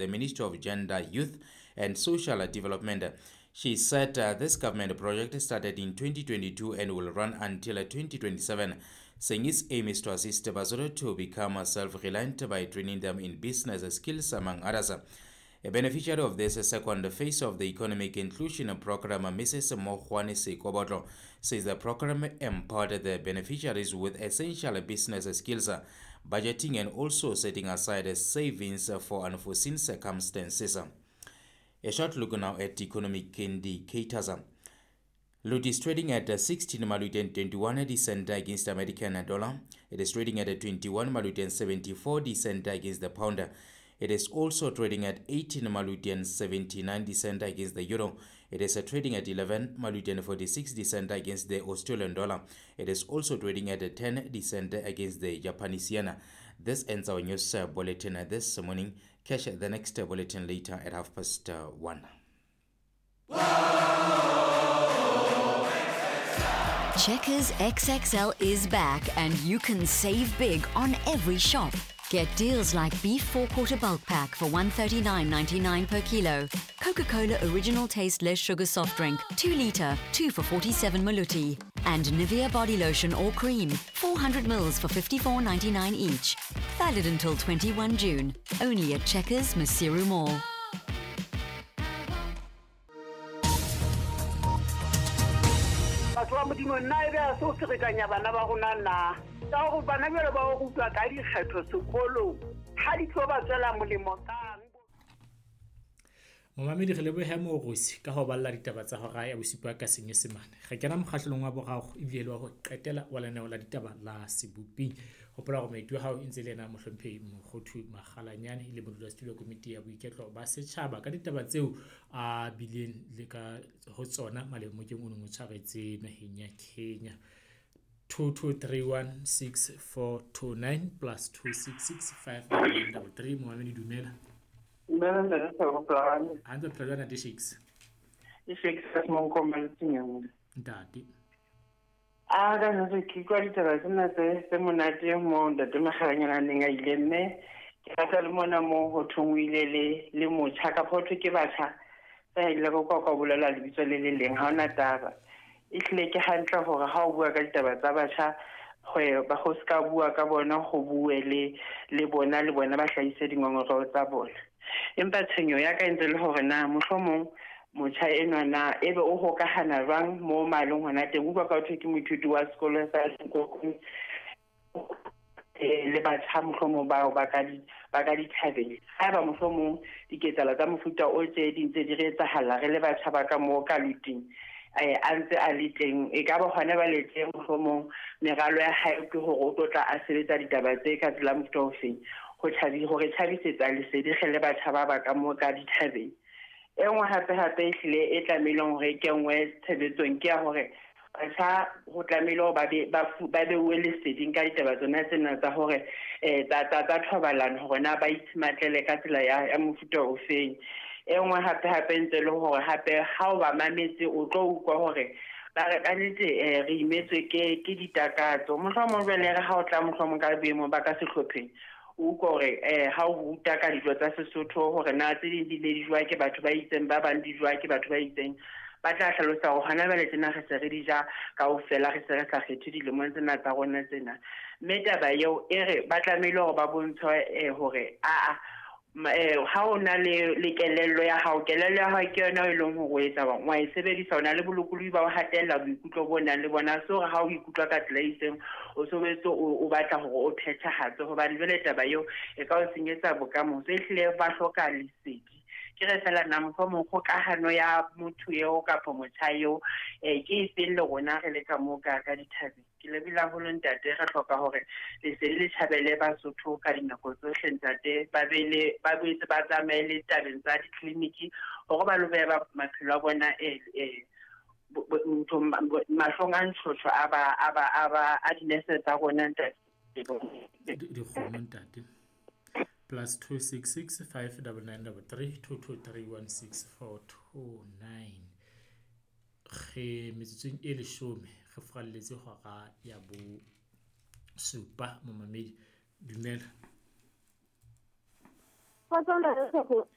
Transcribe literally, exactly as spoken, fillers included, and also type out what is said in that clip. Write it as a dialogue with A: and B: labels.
A: the Ministry of Gender, Youth and Social Development. She said uh, this government project started in twenty twenty-two and will run until twenty twenty-seven, saying its aim is to assist Basotho to become self-reliant by training them in business skills, among others. A beneficiary of this second phase of the economic inclusion program, Missus Mohwane Sekobotlo, says the program empowered the beneficiaries with essential business skills, budgeting, and also setting aside savings for unforeseen circumstances. A short look now at economic indicators. Lut is trading at sixteen Maluti and twenty-one cent against the American dollar. It is trading at twenty-one Maluti and seventy-four cent against the pound. It is also trading at eighteen Maluti and seventy-nine cent against the euro. It is trading at eleven Maluti and forty-six cent against the Australian dollar. It is also trading at ten cent against the Japanese yen. This ends our news bulletin this morning. Catch the next bulletin later at half past one.
B: Checkers X X L is back and you can save big on every shop. Get deals like beef four-quarter bulk pack for one thirty-nine ninety-nine per kilo, Coca-Cola original taste less sugar soft drink, two litre, two for forty-seven maluti, and Nivea body lotion or cream, four hundred mils for fifty-four ninety-nine each. Valid until twenty-one June, only at Checkers Maseru Mall.
C: Batho ba Modimo nna e be a se o ferekanya bana ba rona na. Ka hore bana jwale ba o rutwa ka dikgetho sekolong, ha di tlo ba tswela molemo kang.
D: Momamedi re lebohe Morosi ka ho balla ditaba tsa hora ya bosupa ka Senyesemane. Re kena mokgahlelong wa boraro ebile le wa ho qetela wa lenaneo la ditaba la Seboping. Hopola hore moeti wa hao e ntse le yena Mohlomphehi Mokgothu Makgalanyane e le modulasetulo wa komiti ya boiketlo ba setjhaba ka ditaba tseo a bileng le ka ho tsona malemokeng o neng o tshwaretse naheng ya Kenya. two two three one six four two nine plus two six six five nine double three. Momamedi dumela.
E: Dumela ntate Thabo Polane.
D: Hantle phela jwang ntate Shakes?
E: E Shakes ka Monkomba Letseng.
D: Ntate.
E: A ka nna ke kwa ditaba tsena tse tse monate mo ntate Makgalanyane a neng a ile mme ke rata le mona mo ho thong o ile le le motjha ka ho thwe ke batjha tsa ile go kwa kwa bolela lebitso le le leng ha ona taba. E hlile ke hantle hore ha o bua ka ditaba tsa batjha go ba go ska bua ka bona go bue le le bona le bona ba hlahise dingongoreo tsa bona. Empa tshenyo ya ka ntse le hore na mohlomong motjha enwa na ebe o hokahana jwang mo malong hona teng. Utlwa ka thwe ke moithuti wa sekolo sa Sekokong le batjha mohlomong bao ba ka di ba ka dithabeng. Haeba mohlomong diketsahalo tsa mofuta o tse di ntse di re etsahala re le batjha ba ka mo ka luting a ntse a le teng, e ka ba hona ba le teng mohlomong meralo ya hae ke hore o tlo tla a sebetsa ditaba tse ka tsela mofuta ofeng ho tjhabi hore tjhabisetsa lesedi re le batjha ba ba ka mo ka dithabeng. E nngwe hape hape e hlile e tlamehileng hore e kenngwe tshebetsong ke ya hore batjha ho tlamehile hore ba be ba ba beuwe leseding ka ditaba tsona tsena tsa hore eh tsa tsa tsa thobalano hore na ba itshimatlele ka tsela ya ya mofuta ofeng. E nngwe hape hape ntse le hore hape ha o ba mametse o tlo utlwa hore ba re ka nnete re imetswe ke ke ditakatso. Mohlomong jwale re ha o tla mohlomong ka boemo ba ka sehlopheng o utlwa hore eh ha o ruta ka dijo tsa Sesotho hore na tse ding di ne di jowa ke batho ba itseng, ba bang di jowa ke batho ba itseng, ba tla hlalosa hore hona jwale tsena re se re di ja kaofela, re se re sa kgethe dilemong tsena tsa rona tsena. Mme taba eo e re ba tlamehile hore ba bontshwe hore aa ha o na le le kelello ya hao, kelello ya hao ke yona e leng hore o etsa bang wa e sebedisa, o na le bolokolohi ba ho hatella boikutlo bo nang le bona. So hore ha o ikutlwa ka tsela e itseng o sobetse o batla hore o phethahatse, hobane jwale taba eo e ka o senyetsa bokamoso. E hlile ba hloka lesedi. Ke re fela na mohlomong kgokahano ya motho eo kapa motjha eo eh ke e feng le rona re le ka moo ka ka dithabeng. Ke lebile haholo ntate, re hloka hore lesedi le tjhabele Basotho ka dinako tsohle ntate, ba be le ba boetse ba tsamaye le tabeng tsa ditleliniki hore ba lo beha maphelo a bona eh eh mahlong a ntshotho a ba a ba a ba a dinese tsa rona ntate.
D: Dikgomo ntate. Plus two six six five double nine double three two two three one six four two nine. Re metsotsong e leshome re furalletse hora ya bo supa momamedi. Dumela.